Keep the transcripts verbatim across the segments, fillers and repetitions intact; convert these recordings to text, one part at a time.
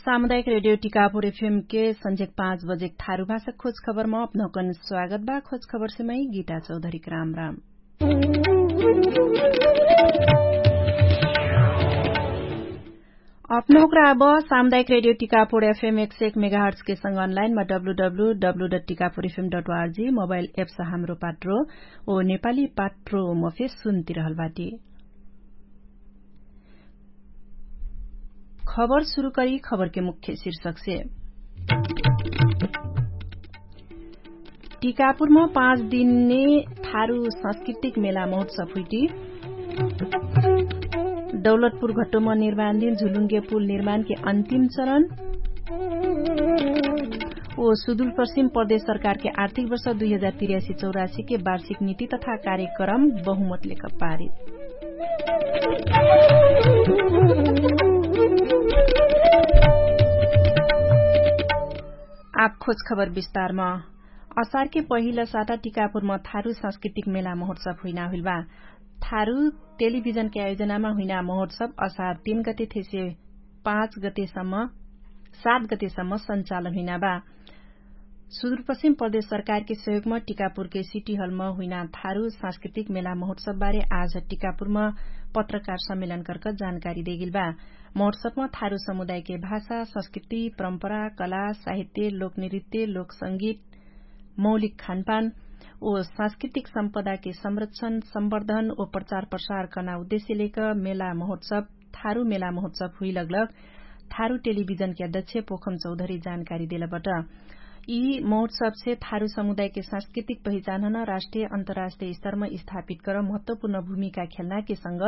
सामुदायिक रेडियो टिकापुर एफएम के संझेक पाँच बजेक थारु भाषा खोज खबरमा अपनहुकन स्वागत बा। खोज खबरसे मै गीता चौधरीक राम राम। अपनहुकरा अब सामुदायिक रेडियो टिकापुर एफएम एक सय एक मेगाहर्ट्सके संग अनलाइनमा W W W dot Tikapur F M dot R G mobile apps Hamro Patro ओ नेपाली पाट्रो मफे सुन्तिरहल बाटी। खबर सुरु करी खबरके मुख्य शीर्षकसे। टिकापुरमा पाँच दिनने थारु सांस्कृतिक मेला महोत्सव हुइटी। दौलतपुर घट्टोमा निर्माणदिन झुलुङ्गे पुल निर्माणके अन्तिम चरण। ओ सुदुलपश्चिम प्रदेश सरकारके आर्थिक वर्ष दुई हजार तिर्यासी चौरासीके वार्षिक नीति तथा कार्यक्रम बहुमतलेक पारित। आप खोज खबर विस्तारमा। असारके पहिला साता टिकापुरमा थारु सांस्कृतिक मेला महोत्सव हुइना हुइलबा। थारु टेलिभिजनके आयोजनामा हुइना महोत्सव असार तीन गते थेसे पाँच गतेसम्म सात गतेसम्म सञ्चालन हुइना बा। सुदुरपश्चिम प्रदेश सरकारके सहयोगमा टिकापुरके सिटी हलमा हुइना थारु सांस्कृतिक मेला महोत्सवबारे आज टिकापुरमा पत्रकार सम्मेलन कर्क जानकारी देगिल बा। महोत्सवमा थारु समुदायके भाषा संस्कृति परम्परा कला साहित्य लोकनृत्य लोकसंगीत मौलिक खानपान ओ सांस्कृतिक सम्पदाके संरक्षण सम्वर्धन ओ प्रचार प्रसार कर्ना उद्देश्य लेक मेला महोत्सव थारु मेला महोत्सव हुइलगलग थारु टेलिभिजनके अध्यक्ष पोखम चौधरी जानकारी देलबट। यि महोत्सवसे थारु समुदायके सांस्कृतिक पहिचानहन राष्ट्रिय अन्तराष्ट्रिय स्तरमा स्थापित कर महत्वपुर्ण भूमिका खेल्नाके संग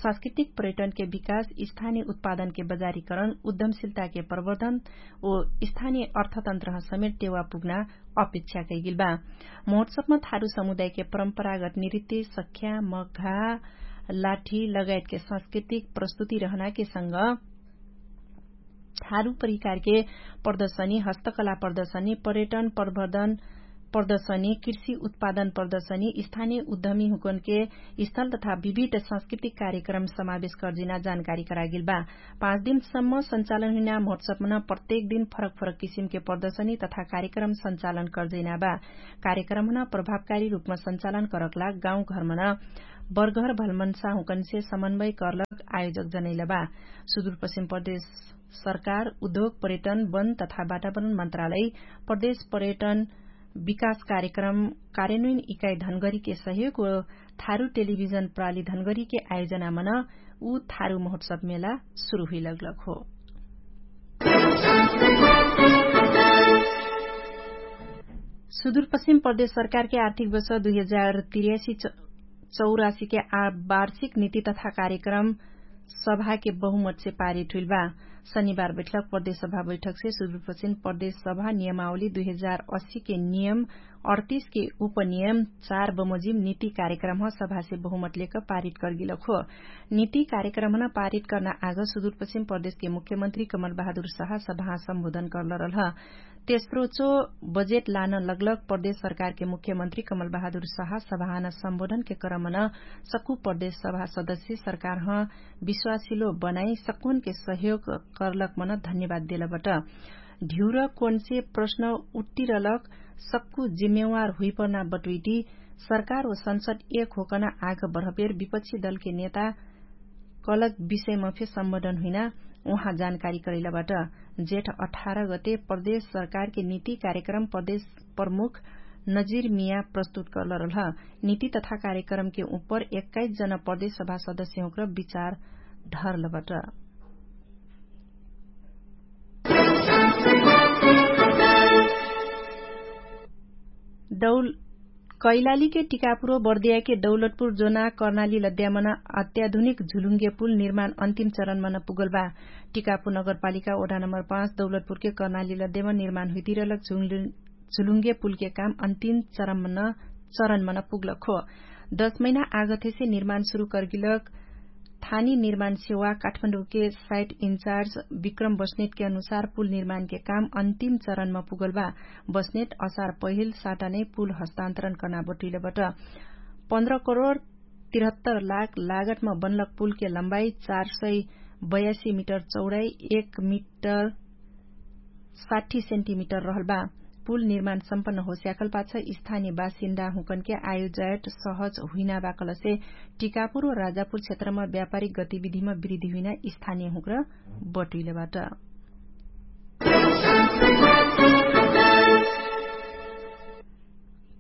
सांस्कृतिक पर्यटनके विकास स्थानिय उत्पादनके बजारीकरण उद्यमशिलताके प्रवर्धन ओ स्थानिय अर्थतन्त्रह समेट टेवा पुग्ना अपेक्षा कैगिल बा। महोत्सवमा थारु समुदायके परम्परागत नृत्य सख्या मघा लाठी लगायतके सांस्कृतिक प्रस्तुति रहनाके संग थारु परिकारके प्रदर्शनी हस्तकला प्रदर्शनी पर्यटन प्रवर्धन प्रदर्शनी कृषि उत्पादन प्रदर्शनी स्थानिय उद्यमी हुकनके स्थल तथा विभिन्न सांस्कृतिक कार्यक्रम समावेश कर्जिना जानकारी करागिल बा। पाँच दिनसम्म सञ्चालन हुइना महोत्सवमन प्रत्येक दिन फरक फरक किसिमके प्रदर्शनी तथा कार्यक्रम सञ्चालन कर्जिना बा। कार्यक्रमहन प्रभावकारी रूपमा सञ्चालन करकला गाउँघरमन बर्घर भलमन्सा हुँकन्से समन्वय कर्लक आयोजक जनैलबा। सुदुरपश्चिम प्रदेश सरकार उद्योग पर्यटन वन तथा वातावरण मन्त्रालय प्रदेश पर्यटन विकास कार्यक्रम कार्यन्वयन इकाइ धनगरीके सहयोग व थारु टेलिभिजन प्राली धनगरीके आयोजनामन उ थारु महोत्सव मेला सुरु हुइलगलक हो। सुदुरपश्चिम प्रदेश सरकारके आर्थिक वर्ष दुई हजार तिर्यासी चौरासीके वार्षिक नीति तथा कार्यक्रम सभाके बहुमतसे पारित हुइल बा। शनिबार बैठक प्रदेश सभा बैठकसे सुदुरपश्चिम प्रदेश सभा नियमावली दुई हजार अस्सीके नियम अडतिसके उपनियम चार बमोजिम नीति कार्यक्रमह सभासे बहुमत लेक पारित कर्गिलक हो। नीति कार्यक्रमहन पारित कर्ना आग सुदुरपश्चिम प्रदेशके मुख्यमन्त्री कमल बहादुर सहा सभाह सम्बोधन कर्लरलह। तेस्रोचो बजेट लान लगलग प्रदेश सरकारके मुख्यमन्त्री कमल बहादुर सहा सभाहन सम्बोधनके क्रमन सक्कु प्रदेश सभा सदस्य सरकारह विश्वासिलो बनाइ सक्कुनके सहयोग कर्लक मन धन्यवाद देलबट। ढिउर कोनसे प्रश्न उत्तिरलक सक्कु जिम्मेवार हुइपर्ना बटुइटी सरकार व संसद एक होकन आग बढपेर विपक्षी दलके नेता कलक विषयमा फे सम्बोधन हुइना उहाँ जानकारी करैलाबाट। जेठ अठार गते प्रदेश सरकारके नीति कार्यक्रम प्रदेश प्रमुख नजिर मिया प्रस्तुत करलरलह। नीति तथा कार्यक्रमके उपर एक्काइस जना प्रदेश सभा सदस्य हुँक्र विचार ढरलबाट। दौल कैलालीके टिकापुरो बर्दियाके दौलतपुर जोना कर्नाली लद्यामन अत्याधुनिक झुलुङ्गे पुल निर्माण अन्तिम चरणमन पुगलबा। टिकापुर नगरपालिका ओढा नम्बर पाँच दौलतपुरके कर्नाली लद्यामन निर्माण हुइतिरलक झुलुङ्गे पुलके काम अन्तिम चरणमन पुगलक हो। दश महिना आगथेसे निर्माण सुरु कर्गिलक थानी निर्माण सेवा काठमाडौँके साइट इन्चार्ज विक्रम बस्नेटके अनुसार पुल निर्माणके काम अन्तिम चरणमा पुगलबा। बस्नेट असार पहिल साटानै पुल हस्तान्तरण कर्ना बटुइलबट। पन्ध्र करोड तिरहत्तर लाख लागतमा बनलक पुलके लम्बाई चार सय बयासी मिटर चौडाई एक मिटर साठी सेन्टिमिटर रहल बा। पुल निर्माण सम्पन्न होस्याकल पाछ स्थानीय बासिन्दा हुँकनके आयोजायट सहज हुइना बाकलसे टिकापुर व राजापुर क्षेत्रमा व्यापारिक गतिविधिमा वृद्धि हुइना स्थानीय हुँक्र बटुइलबाट।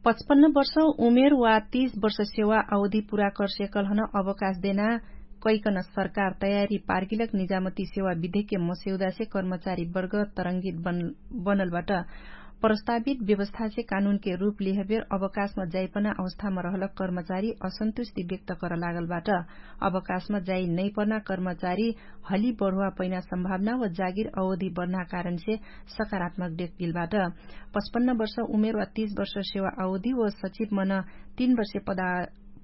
पचपन्न वर्ष उमेर वा तीस वर्ष सेवा अवधि पुरा कर्सेकलहन अवकाश देना कैकन सरकार तयारी पार्किलक निजामती सेवा विधेक्य मसेउदासे कर्मचारी वर्ग तरंगित बनलबाट। प्रस्तावित व्यवस्थासे कानुनके रूप लिहबेर अवकाशमा जाइपना अवस्थामा रहलक कर्मचारी असन्तुष्टि व्यक्त करलागलबाट। अवकाशमा जाइ नैपर्ना कर्मचारी हली बढुवा पैना सम्भावना व जागिर अवधि बढ्ना कारणसे सकारात्मक देख्गिलबाट। पचपन्न वर्ष उमेर वा तीस वर्ष सेवा अवधि व सचिव मन तीन वर्ष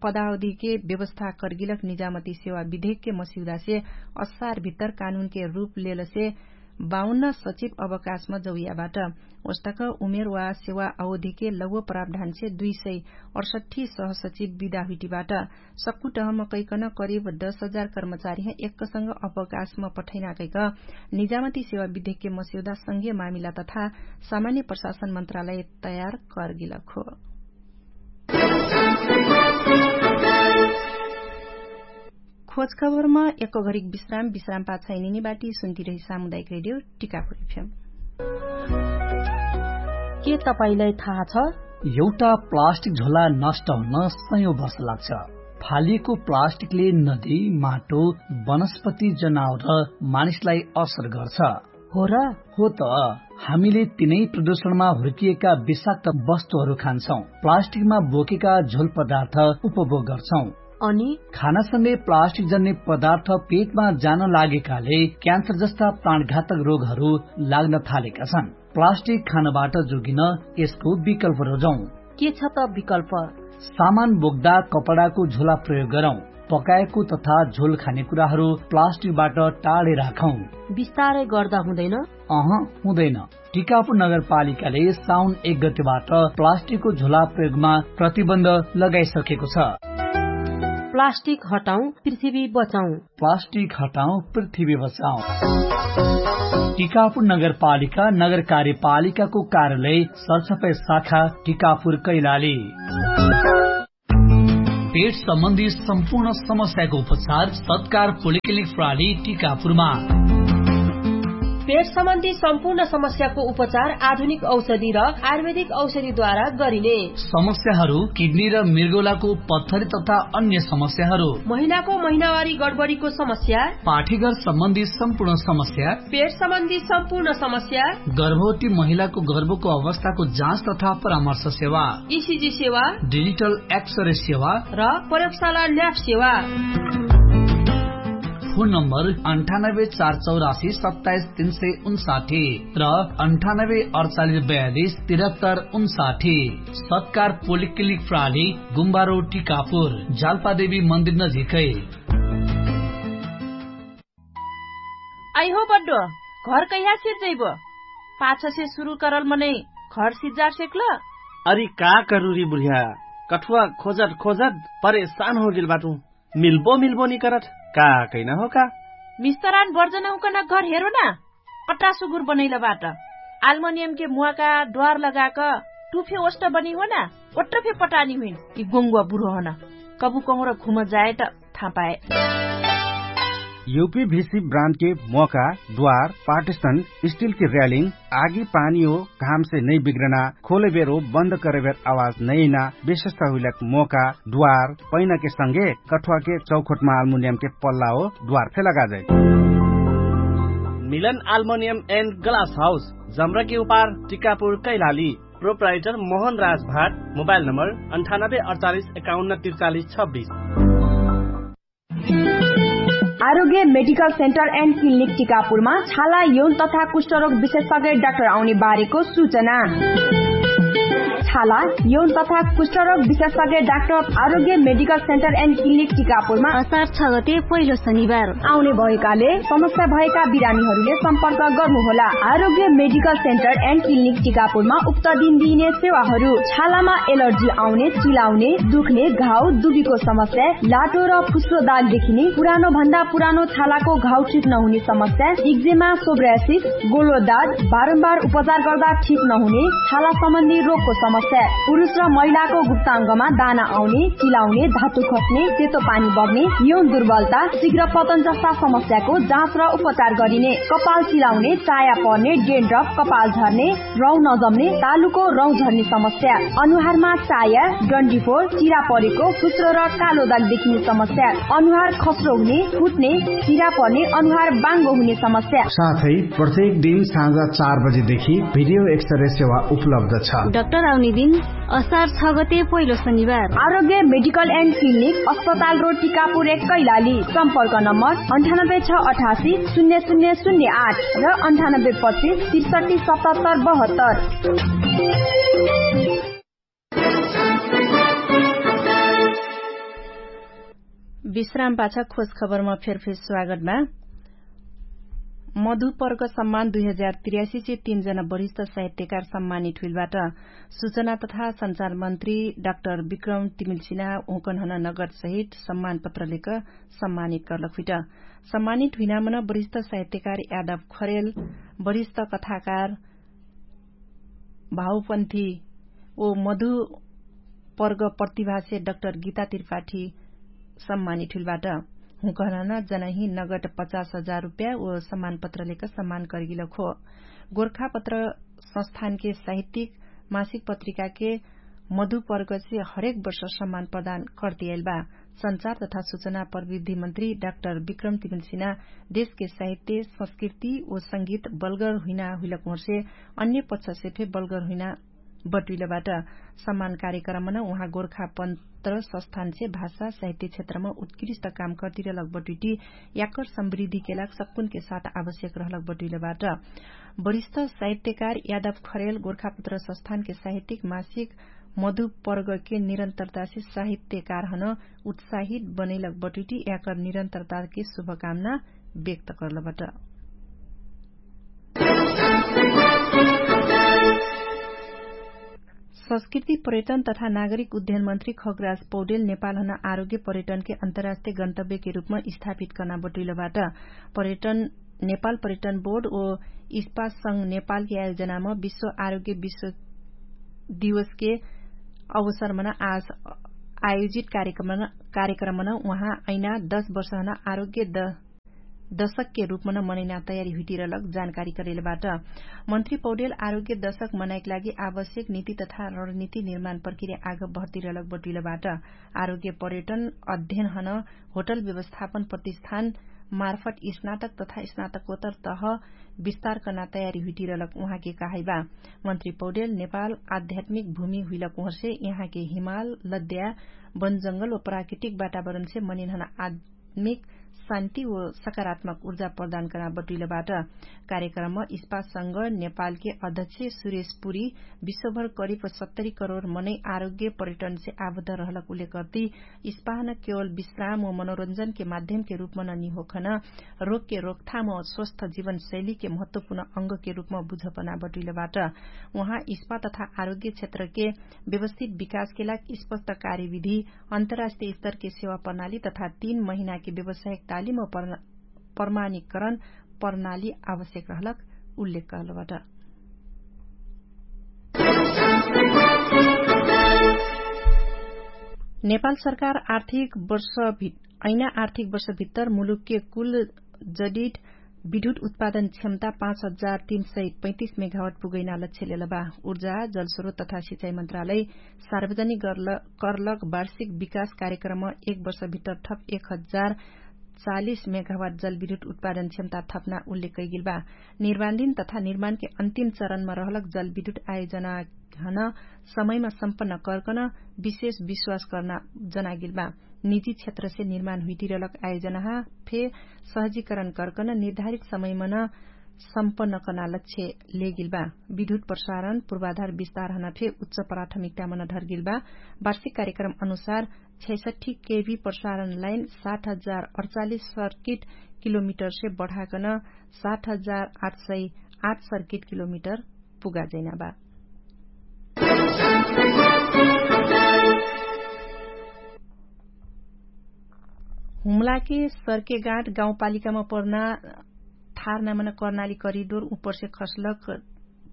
पदावधिके व्यवस्था कर्गिलक निजामती सेवा विधेक्य मसिउदासे असार भित्तर कानुनके रूप लेलसे बाउन्न सचिव अवकाशमा जौयाबाट। ओस्तक उमेर वा सेवा अवधिके लौव प्रावधानसे दुई सय अठसट्ठी सहसचिव विदा हुइटिबाट। सक्कु टहम कैकन करिब दस हजार कर्मचारीह एक्कसँग अवकाशमा पठैना कैक निजामती सेवा विधेक्य मसिउदा संघीय मामिला तथा सामान्य प्रशासन मन्त्रालय तयार कर्गिलक हो। खोजखबरमा एक घरिक विश्राम विश्राम पाछाइ निनिबाटी सुन्तिरही सामुदायिक रेडियो टिकापुर एफएम। के तपाईंलाई थाहा छ? एउटा प्लास्टिक झोला नष्ट हुन सयौं वर्ष लाग्छ। फालिएको प्लास्टिकले नदी, माटो, वनस्पति, जनावर र मानिसलाई असर गर्छ। हो र? हो त। हामीले तिनै प्रदूषणमा हुर्किएका विषाक्त वस्तुहरू खान्छौं। प्लास्टिकमा बोकेका झोल पदार्थ उपभोग गर्छौं। अनि खानासँगै प्लास्टिक जन्ने पदार्थ पेटमा जान लागेकाले क्यान्सर जस्ता प्राणघातक रोगहरू लाग्न थालेका छन्। प्लास्टिक खानबाट जोगिन यसको विकल्प रोजौं। के छ त विकल्प? सामान बोक्दा कपडाको झोला प्रयोग गरौं। पकाएको तथा झोल खाने कुराहरू प्लास्टिकबाट टाढे राखौं। बिस्तारै गर्दा हुँदैन? अह, हुँदैन। टिकापुर नगरपालिकाले साउन एक गतेबाट प्लास्टिकको झोला प्रयोगमा प्रतिबन्ध लगाइसकेको छ। प्लास्टिक हटाउँ, पृथ्वी बचाउँ। प्लास्टिक हटाउँ, पृथ्वी बचाउँ। टिकापुर नगरपालिका, नगर कार्यपालिकाको कार्यालय, सरसफाई शाखा, टिकापुर कैलाली। पेट सम्बन्धी सम्पूर्ण समस्याको उपचार सत्कार पोलिक्लिनिक प्राली टिकापुरमा। पेट सम्बन्धी सम्पूर्ण समस्याको उपचार आधुनिक औषधि र आयुर्वेदिक औषधिद्वारा गरिने। समस्याहरू किडनी र मृगौलाको पत्थरी तथा अन्य समस्याहरू। महिलाको महिनावारी गडबडीको समस्या। पाठीघर सम्बन्धी सम्पूर्ण समस्या। पेट सम्बन्धी सम्पूर्ण समस्या। गर्भवती महिलाको गर्भको अवस्थाको जाँच तथा परामर्श सेवा। इसिजी सेवा। डिजिटल एक्सरे सेवा। र प्रयोगशाला ल्याब सेवा। फोन नम्बर अन्ठानब्बे चार चौरासी सत्ताइस तीन सय उन्साठी र अन्ठानब्बे अडचालिस बयालिस तिरहत्तर उन्साठी। सत्कार पोलिक्लिनिक प्राली, गुम्बारो टिकापुर, जालपादेवी मन्दिर नजिकै। आइहो बड्डो, घर कैहा सिर जैबो? पाछसे सुरु करल मनै घर सिज्जार सेक्ल? अरि का करुरी बुढिया, कठुवा खोजट खोजट परेशान होगेल बाटु। मिल्बो मिल्बो निकरट, का कैना हो का? मिस्तरान बर्जन हुकन घर हेरो ना। अट्टा सुगुर बनैल बाट। आल्मोनियमके मुवाका द्वार लगाक टुफे ओष्ट बनी हो ना। ओट्ट फे पटानी हुइन। यि गोङ्गुवा बुढो हन। कबु कहुँर घुम जाए त थापाए। युपी भिसी ब्रान्डके मोका, द्वार, पार्टिसन, स्टिलके र्यालिङ, आगी पानी हो, घामसे नै बिग्रना, खोलेबेर हो बन्द करेबेर आवाज नैना, विशेषता हुइलक मोका, द्वार, पैनाके संगे कठुवाके चौखोटमा आल्मुनियमके पल्ला हो, द्वार फे लगाजै। मिलन आल्मुनियम एन्ड ग्लास हाउस, जम्रकी उपार, टिकापुर, कैलाली। प्रोप्राइटर मोहन राज भाट। मोबाइल नम्बर अन्ठानब्बे अडचालिस एकाउन्न त्रिचालिस छब्बिस। आरोग्य मेडिकल सेन्टर एन्ड क्लिनिक टिकापुरमा छाला यौन तथा कुष्ठरोग विशेषज्ञ डाक्टर आउने बारेको सूचना। छाला यौन तथा कुष्ठरोग विशेषज्ञ डाक्टर आरोग्य मेडिकल सेन्टर एन्ड क्लिनिक टिकापुरमा असार छ गते पहिलो शनिबार आउने भएकाले समस्या भएका बिरामीहरूले सम्पर्क गर्नुहोला। आरोग्य मेडिकल सेन्टर एन्ड क्लिनिक टिकापुरमा उक्त दिन दिइने सेवाहरू छालामा एलर्जी आउने, चिलाउने, दुख्ने, घाउ, दुबीको समस्या, लाटो र फुस्रो दाग देखिने, पुरानो भन्दा पुरानो छालाको घाउ ठिक नहुने समस्या, इक्जेमा, सोब्रासिस, गोलो दाग, बारम्बार उपचार गर्दा ठिक नहुने छाला सम्बन्धी रोगको समस्या, पुरुष र महिलाको गुप्ताङ्गमा दाना आउने, चिलाउने, धातु खस्ने, सेतो पानी बग्ने, यौन दुर्बलता, शीघ्र पतन जस्ता समस्याको जाँच र उपचार गरिने, कपाल चिलाउने, चाया पर्ने, डेन्ड्रफ, कपाल झर्ने, रौँ नजम्ने, तालुको रौँ झर्ने समस्या, अनुहारमा चाया, डन्डीफोर, चिरा परेको, फुस्रो र कालो दाग देखिने समस्या, अनुहार खस्रो हुने, फुट्ने, चिरा पर्ने, अनुहार बाङ्गो हुने समस्या। साथै प्रत्येक दिन साँझ चार बजेदेखि भिडियो एक्सरे सेवा उपलब्ध छ। डाक्टर आउने दिन असार छ गते पहिलो शनिबार। आरोग्य मेडिकल एन्ड क्लिनिक, अस्पताल रोड, टिकापुर एक, कैलाली। सम्पर्क नम्बर अन्ठानब्बे छ अठासी शून्य शून्य शून्य आठ र अन्ठानब्बे पच्चिस त्रिसठी सतहत्तर बहत्तर। विश्राम पाछा खोज खबरमा फेरफेर स्वागत बा। मधुपर्ग सम्मान दुई हजार त्रियासी से तीन जना वरिष्ठ साहित्यकार सम्मानित हुइलबाट। सूचना तथा सञ्चार मन्त्री डाक्टर विक्रम तिमिल्सिना उकनहन नगद सहित सम्मान पत्रलेक सम्मानित कर्लक हुइट। सम्मानित हुइनामन वरिष्ठ साहित्यकार यादव खरेल, वरिष्ठ कथाकार भावपन्थी ओ मधु पर्ग प्रतिभासे डाक्टर गीता त्रिपाठी सम्मानित हुइलबाट। हुँकहनहन जनही नगद पचास हजार रुप्या ओ सम्मान पत्रलेक सम्मान कर्गिलक हो। गोर्खापत्र संस्थानके साहित्यिक मासिक पत्रिकाके मधुपर्गसे हरेक वर्ष सम्मान प्रदान कर्तियाइलबा। सञ्चार तथा सूचना प्रविधि मन्त्री डाक्टर विक्रम तिमिल्सिना देशके साहित्य, संस्कृति ओ संगीत बलगर हुइना हुइलक होर्से अन्य पक्षसे फे बलगर हुइना बटुइलबाट। सम्मान कार्यक्रमन उहाँ गोर्खापत्र संस्थानसे भाषा साहित्य क्षेत्रम उत्कृष्ट काम कर्तिरलक बटुइटी याकर समृद्धिके लाग सक्कुनके साथ आवश्यक रहलक बटुइलबाट। वरिष्ठ साहित्यकार यादव खरेल गोर्खापत्र संस्थानके साहित्यिक मासिक मधुपर्गके निरन्तरतासे साहित्यकारहन उत्साहित बनैलक बटुइटी याकर निरन्तरताके शुभकामना व्यक्त कर्लबाट। संस्कृति पर्यटन तथा नागरिक उद्यन मन्त्री खगराज पौडेल नेपालहन आरोग्य पर्यटनके अन्तर्राष्ट्रिय गन्तव्यके रूपम स्थापित कर्ना बटुइलबाट। पर्यटन नेपाल पर्यटन बोर्ड ओ इस्पास संग नेपालके आयोजनाम विश्व आरोग्य विश्व दिवसके अवसरमन आज आयोजित कार्यक्रमन उहाँ ऐना दश वर्षहन आरोग्य दशकके रूपमन मनैना तयारी हुइटिरलक जानकारी करेलबाट। मन्त्री पौडेल आरोग्य दशक मनाइक लागि आवश्यक नीति तथा रणनीति निर्माण प्रक्रिया आग भर्तिरलक बटुइलबाट। आरोग्य पर्यटन अध्ययनहन होटल व्यवस्थापन प्रतिष्ठान मार्फट स्नातक तथा स्नातकोत्तर तह विस्तार कर्ना तयारी हुइटिरलक उहाँके कहाइबा। मन्त्री पौडेल नेपाल आध्यात्मिक भूमि हुइलक उहर्से यहाँके हिमाल लद्या बनजंगल व प्राकृतिक वातावरणसे मनिनहन आध्यात्मिक शान्ति व सकारात्मक उर्जा प्रदान कर्ना बटुइलबाट। कार्यक्रम इस्पाससँग नेपालके अध्यक्ष सुरेश पुरी विश्वभर करिब सत्तरी करोड मनै आरोग्य पर्यटनसे आबद्ध रहलक उल्लेख गर्ती इस्पाहन केवल विश्राम व मनोरञ्जनके माध्यमके रूपमन निहोखन रोगके रोकथाम व स्वस्थ जीवनशैलीके महत्वपूर्ण अङ्गके रूपम बुझपना बटुइलबाट। उहाँ इस्पा तथा आरोग्य क्षेत्रके व्यवस्थित विकासके लाग स्पष्ट कार्यविधि अन्तर्राष्ट्रिय स्तरके सेवा प्रणाली तथा तीन महिनाके व्यवसायिक तालिम व प्रमाणिकरण प्रणाली आवश्यक रहलक उल्लेख कहलबाट। नेपाल सरकार आर्थिक वर्ष ऐना आर्थिक वर्ष भित्तर मुलुकके कुल जडिट विद्युत उत्पादन क्षमता पाँच हजार तीन सय पैतिस मेगावट पुगैना लक्ष्य लेलबा। ऊर्जा जलस्रोत तथा सिँचाइ मन्त्रालय सार्वजनिक गर्लक वार्षिक विकास कार्यक्रम एक वर्ष भित्तर थप एक हजार चालिस मेगावट जलविद्युत उत्पादन क्षमता थपना उल्लेख कैगिलबा। निर्माणदिन तथा निर्माणके अन्तिम चरणमा रहलक जलविद्युत आयोजनाहन समयमा सम्पन्न कर्कन विशेष विश्वास कर्ना जनागिलबा। निजी क्षेत्रसे निर्माण हुइटिरलक आयोजनाहा फे सहजीकरण कर्कन निर्धारित समयमन सम्पन्न कर्ना लक्ष्य लेगेल बा। विद्युत प्रसारण पूर्वाधार विस्तार हना फे उच्च प्राथमिकता मन ढर्गेल बा। वार्षिक कार्यक्रम अनुसार छैसठी केभी प्रसारण लाइन सात हजार अठचालिस सर्किट किलोमिटर से बढाकन सात हजार आठ सय आठ सर्किट किलोमिटर पुगा जैना बा। हुमलाके सर्केगाट गाउँपालिकामा पर्ना थारनामन कर्नाली करिडोर उपरसे खसलक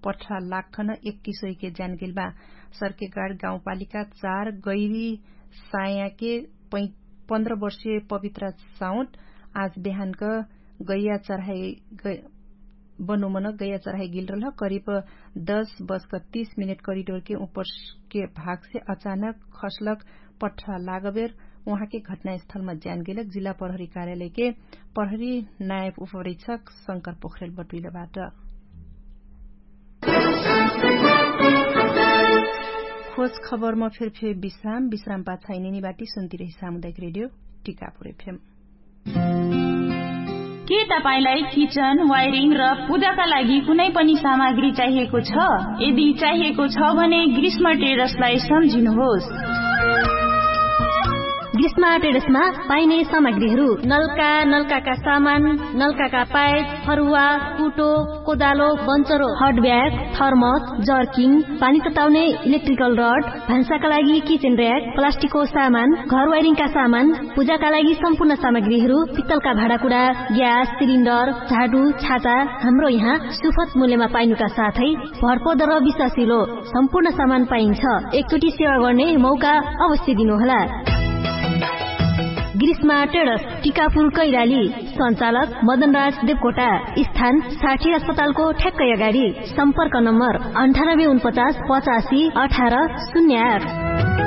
पठ्ठा लाखन एक्किसोइके ज्यानगेल बा। सर्केगाट गाउँपालिका चार गैरी सायाके पन्ध्र वर्षे पवित्रा साउट आज बेहानक गैया चढाइ बनोमन गैया चढाइ गेल रहल करिब दस बजक तीस मिनेट करिडोरके उपरके भागसे अचानक खसलक पठ्ठा लागबेर उहाँके घटनास्थलमा ज्यानगेलक जिल्ला प्रहरी कार्यालयके प्रहरी नायब उपरीक्षक शंकर पोखरेल बटुइलबाट। खोज खबरमा फेरफेर विश्राम विश्राम पाछाइ निनी बाटी सुन्तिरही सामुदायिक रेडियो टिकापुर एफएम। के तपाईंलाई किचन वायरिङ र पूजाका लागि कुनै पनि सामग्री चाहिएको छ? यदि चाहिएको छ भने ग्रीष्म टेडसलाई सम्झिनुहोस्। ग्रीष्म टेडसमा पाइने सामग्रीहरू नलका नलकाका सामान, नलकाका पाइप, फरुवा, कुटो, कोदालो, बन्चरो, हट ब्याग, थर्मस, जर्किङ, पानी तताउने इलेक्ट्रिकल रड, भान्साका लागि किचन र्याक, प्लास्टिकको सामान, घर वायरिङका सामान, पूजाका लागि सम्पूर्ण सामग्रीहरू, पित्तलका भाँडाकुडा, ग्यास सिलिन्डर, झाडु, छाता, हाम्रो यहाँ सुफत मूल्यमा पाइनुका साथै भरपर्दो र विश्वासिलो सम्पूर्ण सामान पाइन्छ। एकचोटि सेवा गर्ने मौका अवश्य दिनुहोला। ग्रीष्मा टेडस, टिकापुर कैराली। सञ्चालक मदनराज देवकोटा। स्थान साठी अस्पतालको ठ्याक्कै अगाडि। सम्पर्क नम्बर अन्ठानब्बे उनपचास पचासी अठार शून्य आठ।